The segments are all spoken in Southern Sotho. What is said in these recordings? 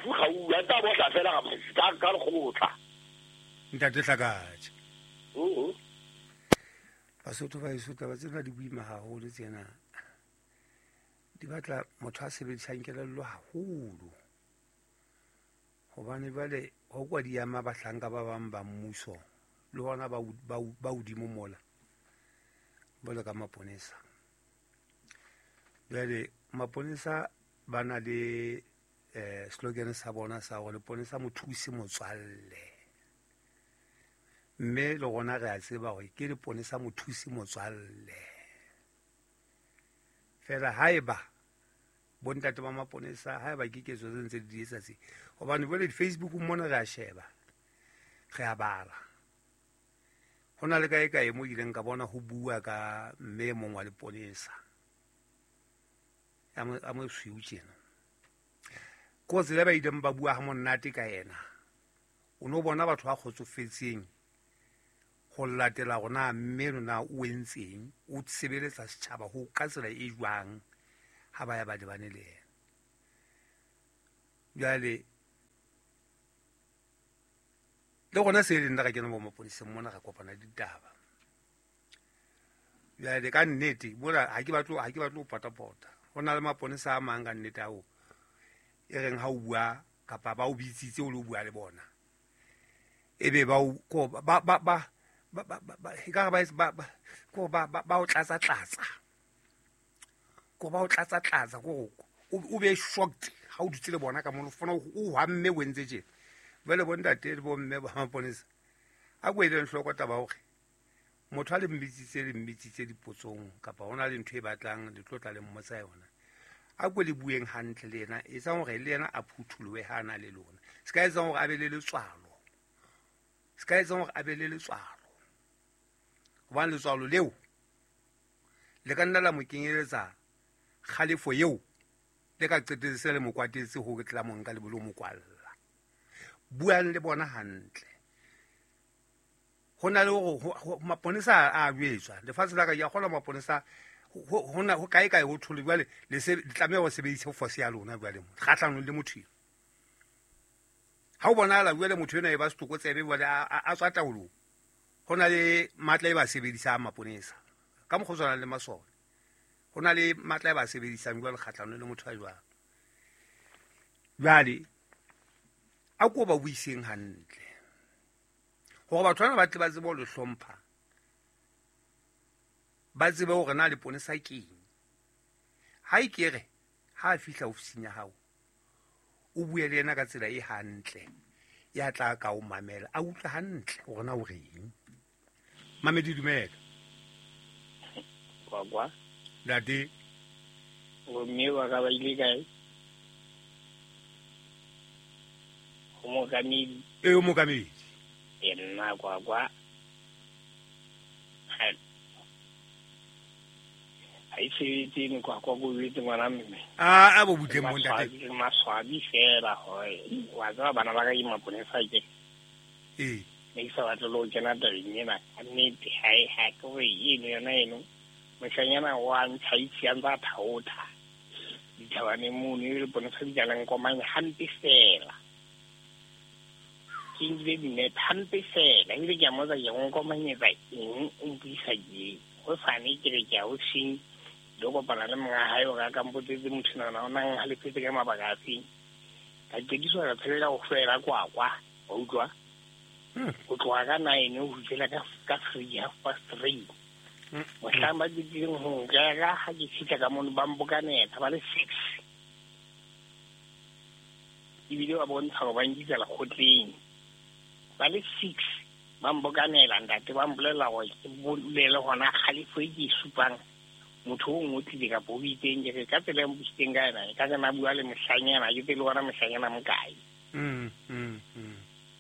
Mofu Kgaula tsa bohla fela ka lekgotla. Ntate Hlakatjha. Basotho ba heso, taba tsena di boima haholo tsena. Di batla motho a sebedisang kelello haholo. Hobane jwale ho kwa di ama bahlanka ba bang ba mmuso le hona ba hodimo mola jwalo ka maponesa. Jwale maponesa ba na le slogan sa bona sa hore leponesa mothusi motswalle. Mme le rona re a tseba hore ke leponesa mothusi motswalle. Fela haeba bontate ba maponesa haeba ke ketso tse ntse di etsa tse, hobane jwale di-Facebook mona re a sheba, re a bala. Ho na le kae kae mo ileng ka bona ho bua ka mme e mong wa leponesa a mosweu tjena. Ko tsela ba ileng ba bua ha monate ka yena, o no bona batho ba kgotsofetseng ho latela hore na mme lona o entseng, o sebeletsa setjhaba ho ka tsela e jwang ha ba ya ba lebane le yena. Jwale le rona se leng nna re kena bo maponeseng mona re kopana le ditaba. Jwale ka nnete mona ha ke batle ho potapota. Ho na le maponesa a mang ka nnete ao e reng ha o bua kapa ba o bitsitse o lo bua le bona, ebe ba o ko ba ba ba ba ba ba e ka ba ba ko ba ba o tlatsa tlatsa, ko ba o tlatsa tlatsa, ko o be shocked ha o dutse le bona ka mono, fona o hamme o entse tjena. Jwale bo ntate le bo mme ba maponesa a ko eleng hloko taba hore motho a le mmitsitse dipotsong kapa hona le ntho e batlang le tlotla le mmotsa yona, a ko le bueng hantle le yena, etsang hore le yena a phuthulohe ha a na le lona. Se ka etsang hore a be le letswalo, se ka etsang hore a be le letswalo, hobane letswalo leo le ka nna la mo kenyeletsa kgalefo eo le ka qetetse se le mo kwatetse ho tla mo nka le bolo mo kwalla. Buang le bona hantle. Ho na le hore maponesa a jwetswa lefatshe la ka, ke a kgolwa maponesa ho na ho kae kae ho thole jwale le se le tlameha ho sebedisa force ya lona jwale mo kgahlanong le motho eo. Ha o bonahala jwale motho enwa e ba setlokotsebe jwale a tswa taolong, ho na le matla e ba sebedisang maponesa ka mokgwa o tshwanang le masole. Ho na le matla e ba sebedisang jwale kgahlanong le motho a jwalo. Jwale a ko ba buiseng hantle hore batho bana ba tle ba tsebe ho le hlompha, ba tsebe hore na leponesa keng. Ha e ke re ha a fihla ofising ya hao, o bue le yena ka tsela e hantle ya tla ka o mamela, a utlwe hantle hore na o reng. Mamedi, dumela. Kwakwa. Ntate. Bomme ba ka ba ile kae? Ho mookamedi. E, o mookamedi. E nna kwakwa. Ha e sebetse eno kwakwa ko jwetse ngwana mme. A bo butleng mo ntate. Maswabi fela hore wa tseba bana ba ka ke maponesa ke. Ee. Ne ke sa batle le ho kena tabeng ena. Ka nnete ha e ha ke hore eno yona eno. Moshanyana wa ntsha itse a ntse a thaotha dithabaneng mono, e leponesa di tla nkomanya hampe fela. Ke nkile dinepe hampe fela, ebile ke a mmotsa ke o nkomanyetsa eng, o mpuisa ke hosane ke re ke a ofising lo kopana le monga hae hore a ka mpotsetse motho nana o nang halefetse ka mabaka a feng. Ka qediswa ka tshelela ho fela kwakwa, wa utlwa? Ho tloha ka 9 ho fihlela ka 3, 3:30. Mohlang ba qetileng ho nkera ha ke fihla ka mono ba mpokanela ba le 6. Ebile ba bontsha hore ba nkisa lekgotleng. Ba le 6 ba mpokanela ntate, ba mpolella hore ke bolele hona kgalefo e ke e supang motho o ngotlile kapa o itseng, ke re ka tsela e mpusitseng ka yona, ka re na bua le mohlanyana, ke tsebe le hona mohlanyana mokae.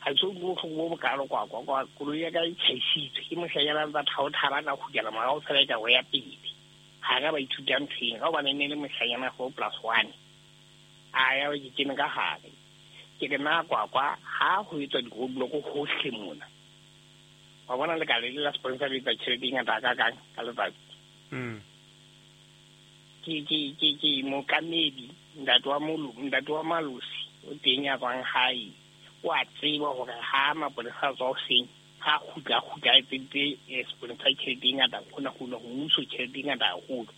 Ha ke utlwe bohloko bo bokalo kwakwa, kwa koloi ya ka e tjhaisitswe ke mohlanyana ntsa thaotha ba tla kgutlela morao fela e ka ho ya pele. Ha ka ba ithuta ntho eng, ka hobane e ne le mohlanyana 4+1. A ya ke kene ka hare. Ke re na kwakwa ha ho etswa di-roadblock hohle mona. Wa bona lekala le la sponsor le etsa tjhelete e ngata hakakang ka letsatsi. Ke mookamedi, ntate wa malosi. O teng ya tswang hae. O a tseba hore ha mapolesa a tswa hoseng, ha kgutla a etseditse sepolesa tjhelete e ngata, hona ho mmuso tjhelete e ngata haholo.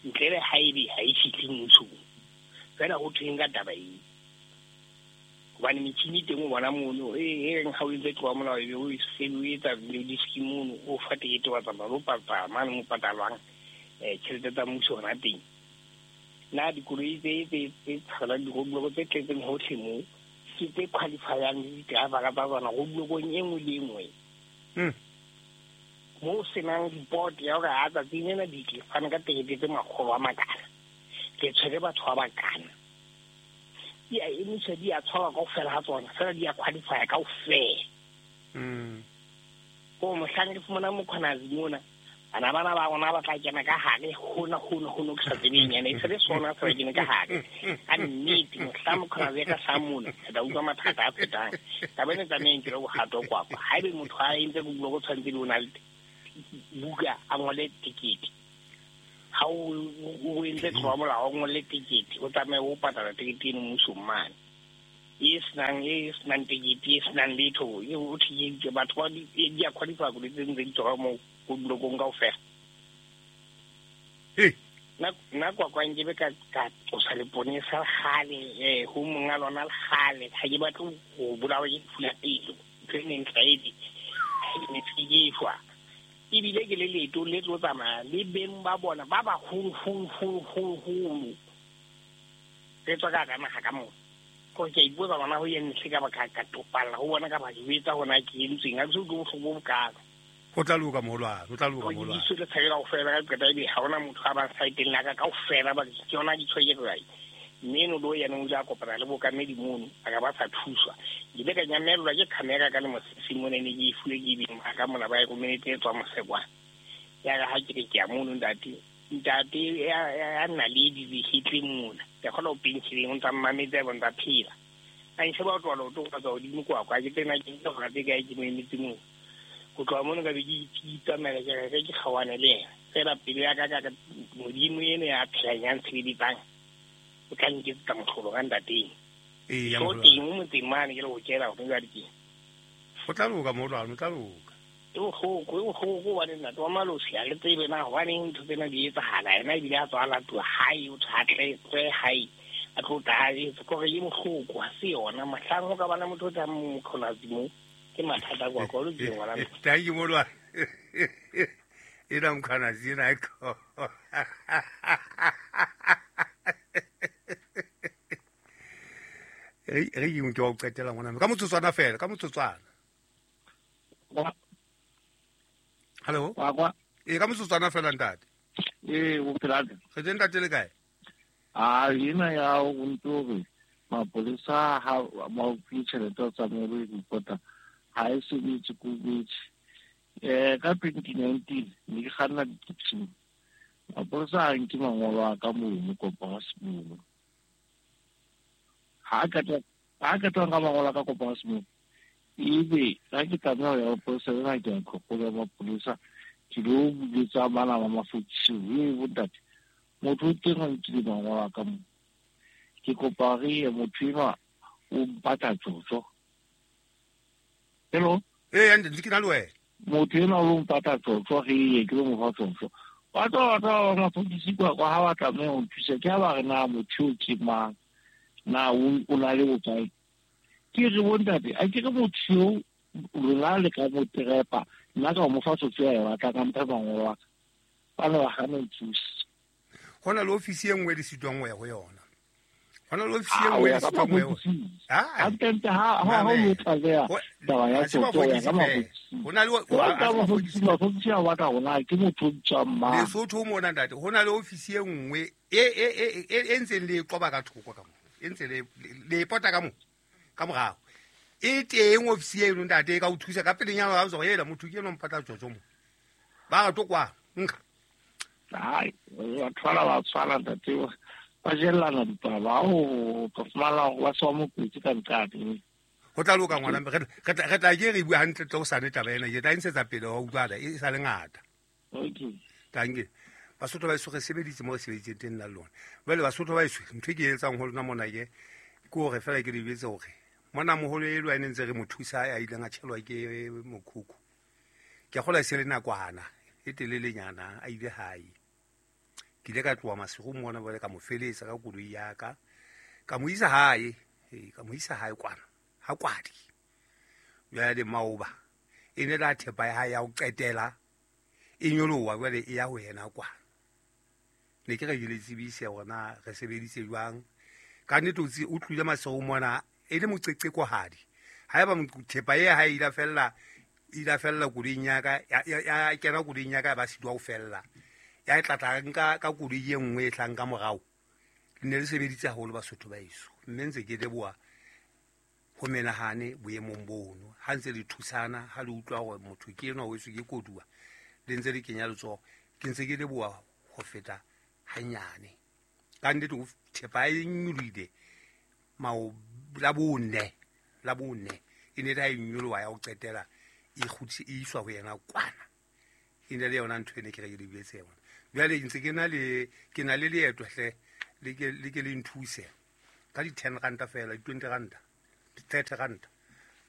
Ntle le haebe ha e fihle mmusong. Feela ho thweng ka taba eo? Hobane metjhini teng o bona mono, e reng ha o entse tloha molao ebe o se o etsa diski mono, o fa tekete wa tsamaya o patala mane mo patalwang tjhelete tsa mmuso hona teng. Na dikoloi tse tshwarelang di-roadblock tse tletseng hohle moo ke tse qualifyang le di-driver tsa tsona roadblockong e nngwe le e nngwe. Moo senang report ya hore ha tsatsing lena di tle fane ka tekete tse makgolo a makana, ke tshwere batho ba bakana. Di a emiswa, di a tshwarwa kaofela ha tsona, fela di a qualify kaofela. Ko mohlang re fumana Mkhwanazi mona, bana bana ba rona ba tla kena ka hare hona ke sa tsebeng ene e se le sona se ba kene ka hare. Ka nnete mohlang Mkhwanazi ya ka hlaha mona, re tla utlwa mathata a fetang. Taba ena e tlameha e nkelwe bohato kwakwa. Haebe motho a entse roadblock o tshwanetse le o na le buka a ngole tekete. Ha o entse tlolo ya molao, o ngole tekete, o tsamaye o patala tekete eno mmusong mane. E senang tekete, e senang letho, e o thekeditse batho ba di a qualify koloi tse ntse di tswa moo roadblockong kaofela. Nna kwakwa nkebe ka tlosa leponesa kgale, ho monga lona kgale, ha ke batle ho bolawa ke lefu la pelo. Ntho e neng tlwaedi, ha ke ne ke shwa. Ebile ke le leeto le tlo tsamaya le beng ba bona ba baholo-holo-holo-holo-holo. Re tswa ka hara naha ka mona. Kore ke a ipotsa bona ho eng hle ka ba ka topalla ho bona ka ba jwetsa hona ke entsweng. Ha ke so utlwe bohloko bo bokalo. Ho tla loka moholwane, ho tla loka moholwane. Ke le tshakela kaofela ka qeta ebe ha hona motho a bang saeteng la ka kaofela ba ke yona di tshweke kae. Mme eno lo yena o ile a kopana le bokamedi mono, a ka ba sa thuswa. Ke ile ka nyamellwa ke camera ka le mosese mona ne ke e fuwe ke beng ba ka mona ba e romeletse e tswa mosekwana. Ya re ha ke re ke ya mono ntate, ntate ya nna le dihetleng mona. Ke kgona ho pentsheleng o ntsa mmametse a bontsa phela. A nsheba o tloha leoto go tswa godimo kwa kwa ke tsena ke ntse gora tse kae ke mo emetse moo. Ho tloha mono ka be ke itsamaela ke re ke kgaohane le yena. Fela pelo ya ka ka Modimo eno ya phelang ya ntshebeditsang o tla nketsetsa mohlolo ka ntateng. So teng mo motseng mane ke le ho kela hore jwale ke. Ho tla loka moholwane, ho tla loka. E bohloko hobane ntate wa Malosi ha re tsebe na hobaneng ntho tsena di etsahala. Yena ebile a tswa a latuwa hae, o thwe a tle tswe hae, a tlo tla a etse. Kore e bohloko, ha se yona. Mohlang ho ka bana motho o tlang Mkhwanazi moo, ke mathata kwa kwa, o lokile ngwana. Thank you moholwane. Ena Mkhwanazi ena e ko. Re ke wa o qetela ngwana ka motsotswana fela, ka motsotswana. Hello. Kwa. E ka motsotswana fela ntate. O phela. Re teng ntate le kae? A ena ya o ntore mapolesa ha ba o tjhelete tsa mo re reporta ha e sebetse ko betse. Ka 2019 ne ke kganna di-taxi. Mapolesa a nke mangolo a ka mono kopa se mono. Ha ka tla ka mangolo a ka kopa se mono. Ebe ha ke tlameha ho ya mapolesa lena ke a tlhokola mapolesa ke lo buletsa bana ba mafokisi e bontate. Motho o teng a nkile mangolo a ka mo. Ke kopa re ye motho enwa o mpatla tjotjo. Hello? Ntse ke na le wena. Motho enwa o mpatla tjotjo re ye ke lo mo fa tjotjo. Ba tla ba mafokisi kwa kwa ha ba tlameha ho nthusa ke ha ba re na motho o ke mang na o na le bokae. Ke re bontate a ke re motho eo lona le ka mo trepa nna ka mo fa tjotjo ya batla ka mpha mangolo a ka. Ba ne ba hana ho nthusa. Ho na le ofisi e nngwe le sitwang ho ya ho yona. Ho na le ofisi e nngwe le sitwang ho ya ho yona. Hantle ha o tlaleha taba ya tjotjo ya ka mafokisi. Ho na le mafokisi a batla hona ke motho o tswang mang. Lesotho mona ntate, ho na le ofisi e nngwe e ntseng le qoba ka thoko ka mo. E ntse le pota ka mo. Ka morao. E teng ofisi eno ntate e ka o thusa ka pelenyana wa tswa ela motho ke eno mpatla tjotjo mo. Ba re to kwa nka. Ai, batho bana ba tshwana ntate, ba jellana ditaba, o ka fumana hore ba se ba mo kwetse ka nqane. Ho tla loka ngwana, re tla ke re bua hantle tle o sane taba ena, ke tla e ntshetsa pele wa utlwala e sa le ngata. Okay. Tanke. Basotho ba eso re sebeditse mo re sebeditseng teng nna le lona. Jwale Basotho ba eso ntho e ke e etsang ho lona mona ke Ke hore fela ke le jwetse hore mona moholo e lwa ntse re mo thusa a ileng a tjhelwa ke mokhukhu. Ke a kgolwa e se le nakwana e telelenyana a ile hae. Ke ile ka tloha masigo mona jwale ka mo feletsa ka koloi ya ka. Ka mo isa hae, ka mo isa hae kwana, ha kwadi. Jwale maoba e ne la thepa ya hae ya ho qetela e nyoloha jwale e ya ho yena kwana. Ne ke re ke le tsebise hore na re sebeditse jwang. Ka nnete o tlohile masigo mona e le moqeqekohadi. Haeba thepa e hae ile fella koloing ya ka, ya kena koloing ya ka ba sitwa ho fella. Ya tla nka ka koloi e nngwe e tlang ka morao. Le ne le sebeditse haholo Basotho ba heso. Mme ntse ke leboha ho menahane boemong bono. Ha ntse le thusana, ha le utlwa hore motho ke enwa o etswe ke koduwa, le ntse le kenya letsoho. Ke ntse ke leboha ho feta hanyane. Ka nnete o thepa e nyolohile la bone e ne le ha e nyoloha ya ho qetela e kgutse e iswa ho yena kwana. E ne le yona ntho e ne ke re ke le jwetse yona. Jwale ntse ke na le leeto hle, le ke le nthuse ka di 10 ranta fela, di 20 ranta, di 30 ranta.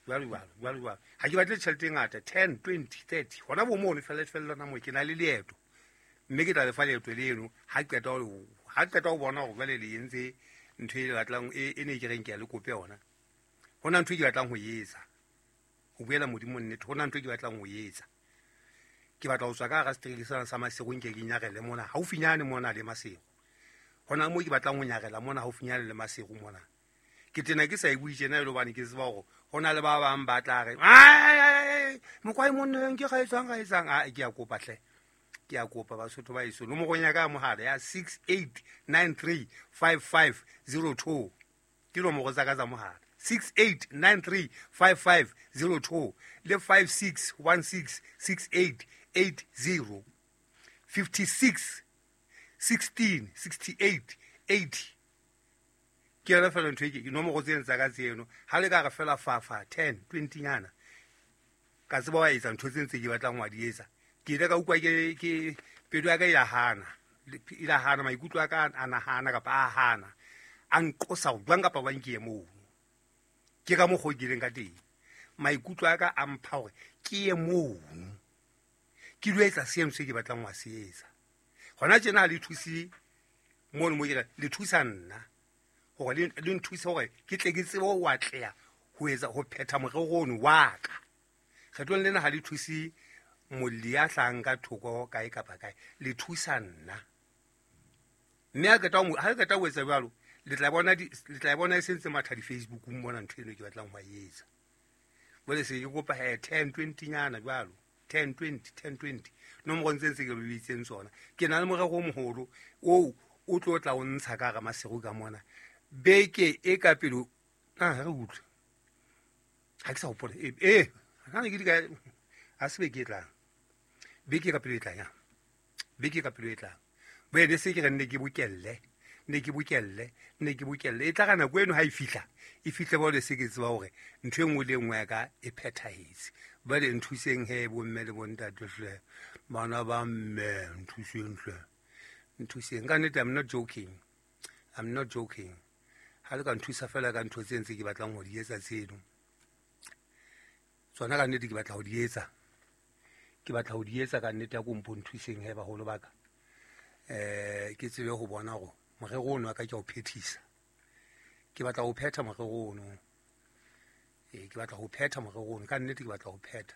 Jwale jwalo, jwale jwalo. Ha ke batle tjhelete e ngata, 10, 20, 30. Hona bo mono fela fela na mo ke na le leeto. Mme ke tla lefa leeto leno ha qeta ho bona hore jwale le entse ntho e le batlang e ne ke reng ke a le kope yona. Hona ntho e ke batlang ho etsa. Ho buela Modimo nnete, hona ntho e ke batlang ho etsa. Ke batla ho tswa ka hara setereke sena sa Maseru nke ke nyarele mona haufinyane mona le Maseru. Hona moo ke batlang ho nyarela mona haufinyane le Maseru mona. Ke tena ke sa e bue tjena e le hobane ke tseba hore hona le ba bang ba tla re mokwai monna ke ga etsang a ke a kopa hle. Ke a kopa Basotho ba heso. Nomoro ya ka ya mohala ya 68935502 ke nomoro tsa ka tsa mohala. 68935502 le 56166880 56 16 68 80. Ke yona fela ntho e ke nomoro tseno tsa ka tseno. Ha le ka re fela fafa 10 20 nyana ka tseba wa etsa ntho tse ntse ke batlang wa di etsa. Ke ile ka utlwa ke pelo ya ka e la hana maikutlo a ka a nahana kapa a hana a nqosa ho jwang kapa jwang ke ye mono. Ke ka mokgwa o ke ileng ka teng. Maikutlo a ka a mpha hore ke ye mono. Ke lo etsa seno se ke batlang ho se etsa. Hona tjena ha le thuse mono mo ke re le thusa nna hore le nthuse hore ke tle ke tsebe ho atleha ho etsa ho phetha morero ono wa ka. Kgetlong lena ha le thuse molli ya hlang ka thoko kae kapa kae, le thusa nna. Mme ha qeta ho etsa jwalo, le tla bona e sentse matha di Facebookung mona ntho eno ke batlang ho e etsa. Jwale se ke kopa 10 20 nyana jwalo, 10 20 10 20. Nomoro ntse ntse ke le bitseng tsona. Ke na le morero o moholo oo o tlo tla o ntsha ka hara Maseru ka mona. Beke e ka pele re utlwe. Ha ke sa hopola. Ha ne ke di ka a se beke e tlang. Beke ka pele e tlang ya. Beke ka pele e tlang. Boele se ke re nne ke bokelle. E tla ka nako eno ha e fihla. E fihle ba le se ke tseba hore ntho e nngwe le nngwe ya ka e phethahetse. Ba le nthuseng he bomme le bontate hle. Bana ba mme nthuseng hle. Nthuseng ka nnete, I'm not joking. Ha le ka nthusa fela ka ntho tse ntse ke batlang ho di etsa tseno. Tsona ka nnete ke batla ho di etsa. Ke batla ho di etsa ka nnete ya ko mpo nthuseng he baholo ba ka. Ke tsebe ho bona hore morero ono wa ka ke a o phethisa. Ke batla ho phetha morero ono. Ke batla ho phetha morero ono ka nnete ke batla ho phetha.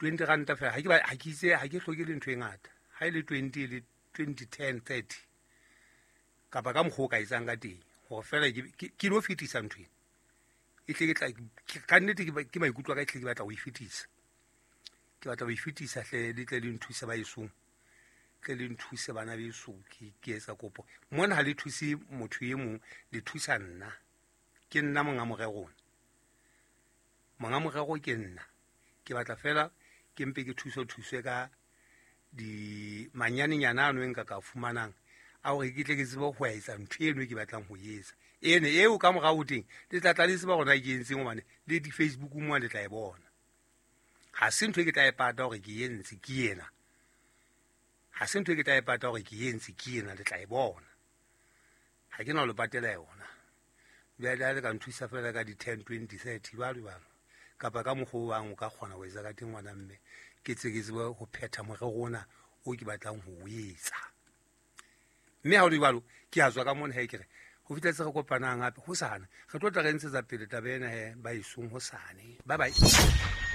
20 ranta fela ha ke itse ha ke hloke le ntho e ngata. Ha e le 20 le 20 10 30 kapa ka mokgwa o ka etsang ka teng hore fela ke lo fetisa ntho ena. E tle ke tla ka nnete ke maikutlo a ka e tle ke batla ho e fetisa. Ke batla ho e fetisa hle le tle le nthuse ba esong. Tle le nthuse bana beso ke etsa kopo. Mona ha le thuse motho e mong, le thusa nna. Ke nna monga morero ona. Monga morero ke nna. Ke batla fela ke mpe ke thuswe ka di manyanenyana ano e nka ka fumanang a hore ke tle ke tsebe ho etsa ntho eno e ke batlang ho etsa. Ene eo ka morao teng le tla tla le tseba hore na ke entseng hobane le di Facebook mo le tla e bona. Ha se ntho e ke tla e pata hore ke entse ke ena. Ha se ntho e ke tla e pata hore ke entse ke ena le tla e bona. Ha ke na ho le patela yona. Bjale a le ka nthusa fela ka di-10, 20, 30 jwalo jwalo, kapa ka mokgwa o bang o ka kgona ho etsa ka teng, ngwana mme, ke tse ke tsebe ho phetha morero ona o ke batlang ho o etsa. Mme ha o le jwalo, ke a tswa ka mona he, ke re ho fitlhetse re kopanang hape hosane, re tlo tla re ntshetsa pele taba ena he ba isong hosane. Bye bye.